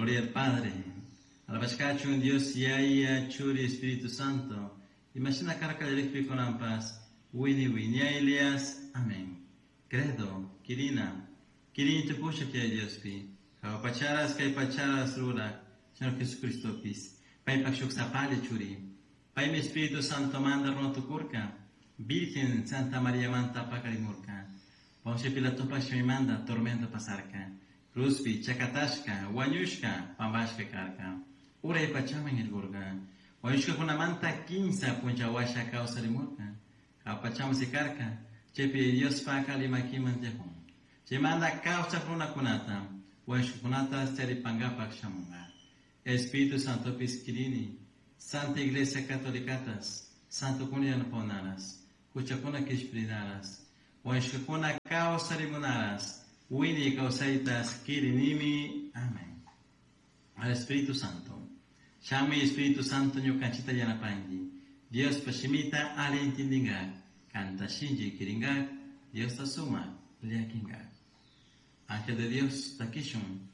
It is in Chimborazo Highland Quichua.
Gloria al Padre. Alabashkachun Dios Yaya, Churi, Espíritu Santo. Imashina karka qallarikpi kunanpas, wiñay wiñaylias. Amén. Credo, Kirina. Kirini tukushak Yaya Diospi. Jahua pacharas, kay pacharas rurak, Señor Jesucristopis. Paypak shuk sapalla churi. Paymi Espíritu Santo manta runa tukurka. Virgen Santa María manta pakarimurka. Poncio Pilatopak shimimanta tormento pasarka. Cruzpi, chakatashka, wañushka, pampashka karka. Uray pachaman irkurka. Wañushkakunamanta kinsa puncha washa kawsarimurka. Jahua pachaman sikarka. Chaypi Diospak ali makiman tiyakun. Chaymanta kawsak runakunata, wañushkakunata charipankapak shamunka. Espíritu Santopis kirini, Santa Iglesia Catolicatas, Santokuna yanapahunaras, huchakuna kishpirinaras, wañushkakuna kawsarimunaras, wiñay kawsaytas kirinimi. Amén. Al Espíritu Santo. Shamuy Espíritu Santo ñukanchita yanapanki. Diospa shimita ali intindingak, kanta shinchi kiringak, Diosta sumak llakinkak. Ángel de Dios, takishun.